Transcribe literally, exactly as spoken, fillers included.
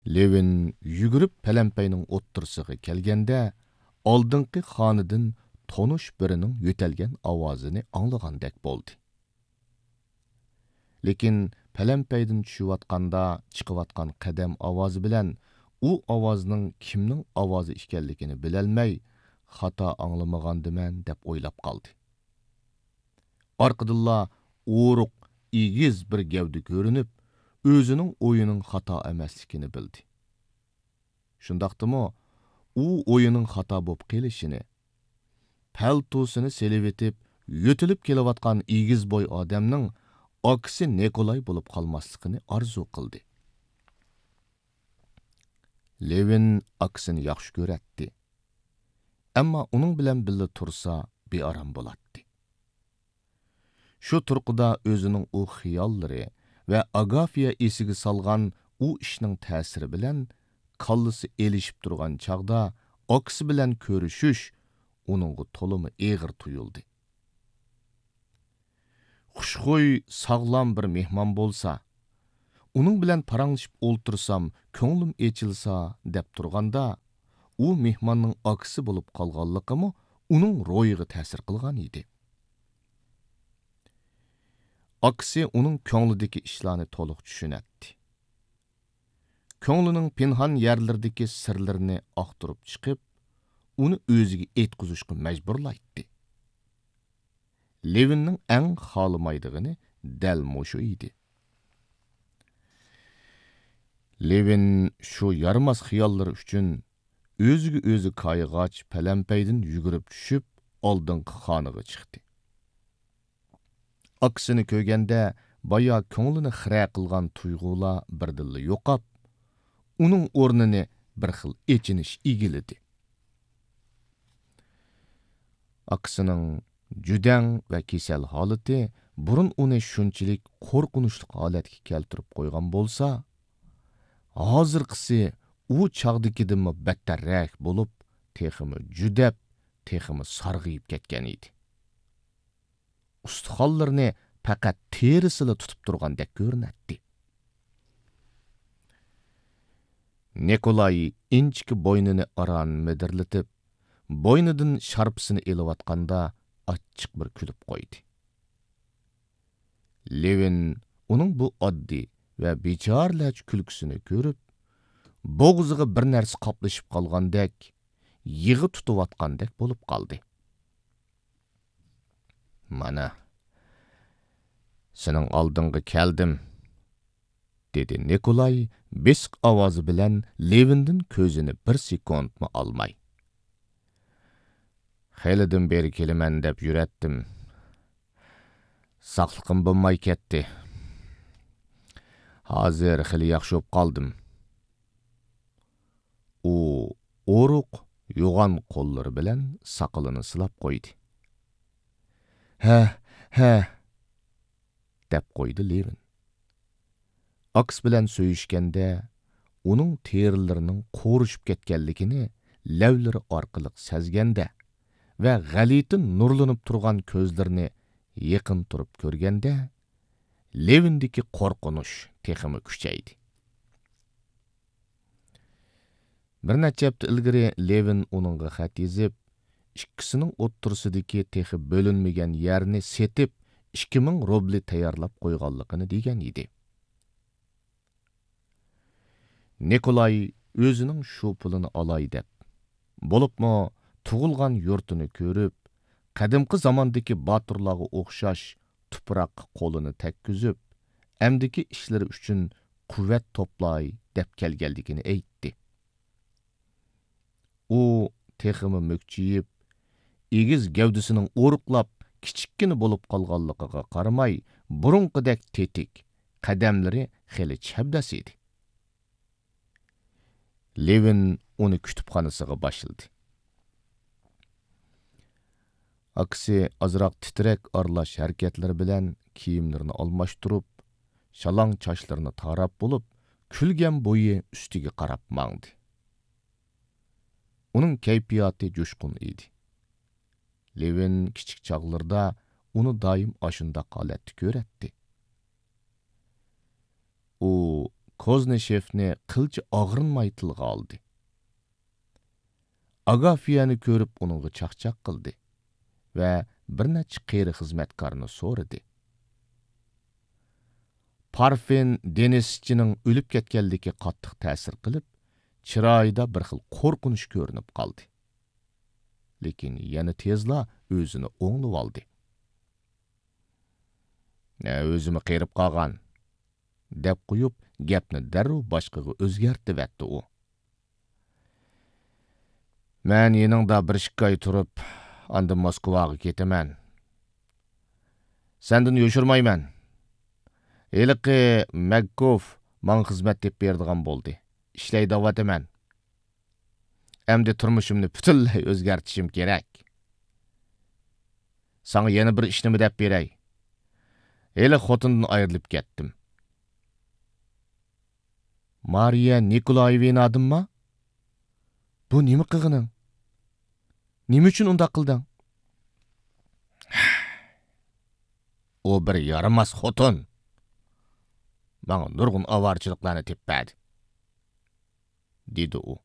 لېۋىن يۈگۈرۈپ پەلەمپەينىڭ ئوتتۇرىسىغا كەلگەندە، ئالدىنقى خانىدىن تونۇش بىرىنىڭ يۆتەلگەن ئاۋازىنى ئاڭلىغاندەك بولدى. لېكىن پەلەمپەيدىن چۈشۈۋاتقاندا چىقىۋاتقان قەدەم ئاۋازى بىلەن ئۇ ئاۋازنىڭ كىمنىڭ ئاۋازى ئىكەنلىكىنى بىلەلمەي، «خاتا ئاڭلىمىغاندىمەن» دەپ ئويلاپ قالدى. ئارقىدىنلا ئورۇق، ئېگىز بىر گەۋدە كۆرۈنۈپ، ئۆزىنىڭ ئويىنىڭ خاتا ئەمەسلىكىنى بىلدى. شۇنداقتىمۇ ئۇ ئويىنىڭ خاتا بولۇپ قېلىشىنى، پەلتوسىنى سېلىۋېتىپ يۆتىلىپ كېلىۋاتقان ئېگىز بوي ئادەمنىڭ ئاكىسى نىكولاي بولۇپ قالماسلىقىنى ئارزۇ قىلدى. لېۋىن ئاكىسىنى ياخشى كۆرەتتى. ئەمما ئۇنىڭ بىلەن بىللە تۇرسا بىئارام بولاتتى. شۇ تۇرقىدا ئۆزىنىڭ ئۇ خىياللىرى ۋە ئاگافىيا ئېسىگە سالغان ئۇ ئىشنىڭ تەسىرى بىلەن كاللىسى ئېلىشىپ تۇرغان چاغدا ئاكىسى بىلەن كۆرۈشۈش ئۇنىڭغا تولىمۇ ئېغىر تۇيۇلدى. خۇشخۇي، ساغلام بىر مېھمان بولسا، ئۇنىڭ بىلەن پاراڭلىشىپ ئولتۇرسام، كۆڭلۈم ئېچىلسا دەپ تۇرغاندا، ئۇ مېھماننىڭ ئاكىسى بولۇپ قالغانلىقىمۇ ئۇنىڭ روھىغا تەسىر قىلغان ئىدى. ئاكىسى ئۇنىڭ كۆڭلىدىكى ئىشلارنى تولۇق چۈشىنەتتى. كۆڭلىنىڭ پىنھان يەرلىرىدىكى سىرلىرىنى ئاختۇرۇپ چىقىپ، ئۇنى ئۆزىگە ئېيتقۇزۇشقا مەجبۇرلايتتى. لېۋىننىڭ ئەڭ خالىمايدىغىنى دەل مۇشۇ ئىدى. لېۋىن شۇ يارىماس خىياللىرى ئۈچۈن ئۆزىگە ئۆزى كايىغاچ پەلەمپەيدىن يۈگۈرۈپ چۈشۈپ، ئالدىنقى خانىغا چىقتى. ئاكىسىنى كۆرگەندە، بايا كۆڭلىنى خىرە قىلغان تۇيغۇلار بىردىنلا يوقاپ، ئۇنىڭ ئورنىنى بىر خىل ئېچىنىش ئىگىلىدى. ئاكىسىنىڭ جۈدەڭ ۋە كېسەل ھالىتى بۇرۇن ئۇنى شۇنچىلىك قورقۇنچلۇق ھالەتكە كەلتۈرۈپ قويغان بولسا، ھازىرقىسى ئۇ چاغدىكىدىنمۇ بەتتەررەك بولۇپ، تېخىمۇ جۈدەپ، تېخىمۇ سارغىيىپ كەتكەن ئىدى. ئۇستىخانلىرىنى پەقەت تېرىسىلا تۇتۇپ تۇرغاندەك كۆرۈنەتتى. نىكولاي ئىنچىكە بوينىنى ئاران مىدىرلىتىپ، بوينىدىن شارپىسىنى ئېلىۋاتقاندا ئاچچىق بىر كۈلۈپ قويدى. لېۋىن ئۇنىڭ بۇ ئاددىي ۋە بىچارىلەرچە كۈلكىسىنى كۆرۈپ، بوغۇزىغا بىر نەرسە قاپلىشىپ قالغاندەك، يىغا تۇتۇۋاتقاندەك بولۇپ قالدى. «مانا، سېنىڭ ئالدىڭغا كەلدىم»، دېدى نىكولاي بېسىق ئاۋازى بىلەن لېۋىندىن كۆزىنى بىر سېكۇنتمۇ ئالماي. «خېلىدىن بېرى كېلىمەن دەپ يۈرەتتىم. ساقلىقىم بولماي كەتتى. ھازىر خېلى ياخشى بولۇپ قالدىم.» ئۇ ئورۇق، يوغان قوللىرى بىلەن ساقىلىنى سىلاپ قويدى. «ھە، ھە»، دەپ قويدى لېۋىن. ئاكىسى بىلەن سۆيۈشكەندە، ئۇنىڭ تېرىلىرىنىڭ قورۇشۇپ كەتكەنلىكىنى لەۋلىرى ئارقىلىق سەزگەندە ۋە غەلىتە نۇرلىنىپ تۇرغان كۆزلىرىنى يېقىن تۇرۇپ كۆرگەندە، لېۋىندىكى قورقۇنچ تېخىمۇ كۈچەيدى. بىر نەچچە ھەپتە ئىلگىرى لېۋىن ئۇنىڭغا خەت يېزىپ، ئىككىسىنىڭ ئوتتۇرىسىدىكى تېخى بۆلۈنمىگەن يەرنى سېتىپ، ئىككى مىڭ روبلى تەييارلاپ قويغانلىقىنى دېگەن ئىدى. نىكولاي ئۆزىنىڭ شۇ پۇلىنى ئالاي دەپ، بولۇپمۇ تۇغۇلغان يۇرتىنى كۆرۈپ، قەدىمكى زاماندىكى باتۇرلارغا ئوخشاش تۇپراققا قولىنى تەگكۈزۈپ، ئەمدىكى ئىشلىرى ئۈچۈن قۇۋۋەت توپلاي دەپ كەلگەنلىكىنى ئېيتتى. ئۇ تېخىمۇ مۈكچىيىپ، ئېگىز گەۋدىسىنىڭ ئورۇقلاپ، كىچىككىنە بولۇپ قالغانلىقىغا قارىماي، بۇرۇنقىدەك تېتىك، قەدەملىرى خېلى چەبدەس ئىدى. لېۋىن ئۇنى كۇتۇپخانىسىغا باشلىدى. ئاكىسى ئازراق تىترەك ئارىلاش ھەرىكەتلىرى بىلەن كىيىملىرىنى ئالماشتۇرۇپ، شالاڭ چاچلىرىنى تاراپ بولۇپ، كۈلگەن بويى ئۈستىگە قاراپ ماڭدى. ئۇنىڭ كەيپىياتى جۇشقۇن ئىدى. لېۋىن كىچىك چاغلىرىدا ئۇنى دائىم ئاشۇنداق ھالەتتە كۆرەتتى. ئۇ كوزنىشېفنى قىلچە ئاغرىنماي تىلغا ئالدى. ئاگافيەنى كۆرۈپ ئۇنىڭغا چاقچاق قىلدى ۋە بىر نەچچە قېرى خىزمەتكارنى سورىدى. پارفىن دېنىسچىنىڭ ئۆلۈپ كەتكەنلىكى قاتتىق تەسىر قىلىپ، چىرايىدا بىر خىل قورقۇنچ كۆرۈنۈپ قالدى. لېكىن يەنە تېزلا ئۆزىنى ئوڭلىۋالدى. «نە، ئۆزىمۇ قېرىپ قالغان» دەپ قويۇپ، گەپنى دەررۇ باشقىغا ئۆزگەرتىۋەتتى ئۇ. «مەن يېنىڭدا بىر ئىككى ئاي تۇرۇپ، ئاندىن موسكۋاغا كېتىمەن. سەندىن يوشۇرمايمەن. ھېلىقى مەگكوف ماڭا خىزمەت تېپىپ بېرىدىغان بولدى. ئىشلەي دەۋاتىمەن. ئەمدى تۇرمۇشۇمنى پۈتۈنلەي ئۆزگەرتىشىم كېرەك. ساڭا يەنە بىر ئىشنىمۇ دەپ بېرەي. ھېلى خوتۇندىن ئايرىلىپ كەتتىم.» «مارىيە نىكولايېۋنادىنما؟ بۇ نېمە قىلغىنىڭ؟ نېمە ئۈچۈن ئۇنداق قىلدىڭ؟» «ئۇ بىر يارىماس خوتۇن. ماڭا نۇرغۇن ئاۋارىچىلىقلارنى تېپىپ بەردى»، دېدى ئۇ.